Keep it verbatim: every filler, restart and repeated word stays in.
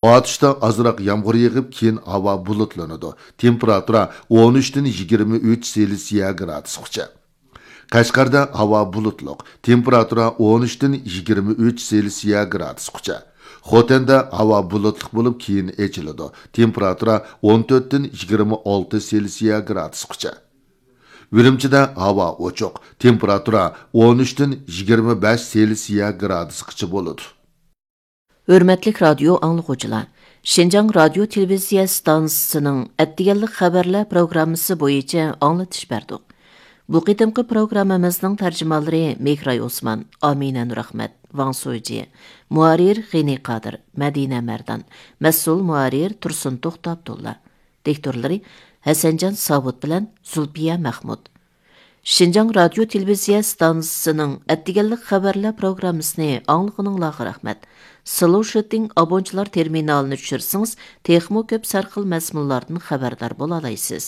ئاتۇشتا ئازراق يامغۇر يېغىپ، كېيىن ھاۋا بۇلۇتلىنىدۇ. تېمپېراتۇرا ئون ئۈچتىن يىگىرمە ئۈچ سېلسىيە گرادۇسقىچە. قەشقەردە ھاۋا بۇلۇتلۇق، تېمپېراتۇرا ئون ئۈچتىن يىگىرمە ئۈچ سېلسىيە گرادۇسقىچە. خوتەندە ھاۋا بۇلۇتلۇق بولۇپ، كېيىن ئېچىلىدۇ. تېمپېراتۇرا ئون تۆتتىن يىگىرمە ئالتە سېلسىيە گرادۇسقىچە. ئۈرۈمچىدە ھاۋا ئوچۇق، تېمپېراتۇرا ئون ئۈچتىن يىگىرمە بەش سېلسىيە گرادۇسقىچە بولىدۇ. ھۆرمەتلىك رادىيو ئاڭلىغۇچىلار، شىنجاڭ رادىيو تېلېۋىزىيە ئىستانسىسىنىڭ ئەتىگەنلىك خەۋەرلەر پروگراممىسى بويىچە ئاڭلىتىش بەردۇق. بۇ قېتىمقى پروگراممىمىزنىڭ تەرجىمانلىرى مېھراي ئوسمان، ئامىنە نۇرئەخمەت، ۋاڭ سۇيجى، مۇھەررىر غېنى قادىر، مەدىنە مەردان، مەسئۇل مۇھەررىر تۇرسۇن توختى ئابدۇللا، دىكتورلىرى ھەسەنجان ساۋۇت بىلەن زۇلپىيە مەخمۇت. شىنجاڭ رادىيو تېلېۋىزىيە ئىستانسىسىنىڭ ئەتىگەنلىك خەۋەرلەر پروگراممىسىنى ئاڭلىغىنىڭلارغا رەھمەت. سلوشىتىڭ ئابونچىلار تېرمىنالىنى چۈشۈرسىڭىز، تېخىمۇ كۆپ سەرخىل مەزمۇنلاردىن خەۋەردار بولالايسىز.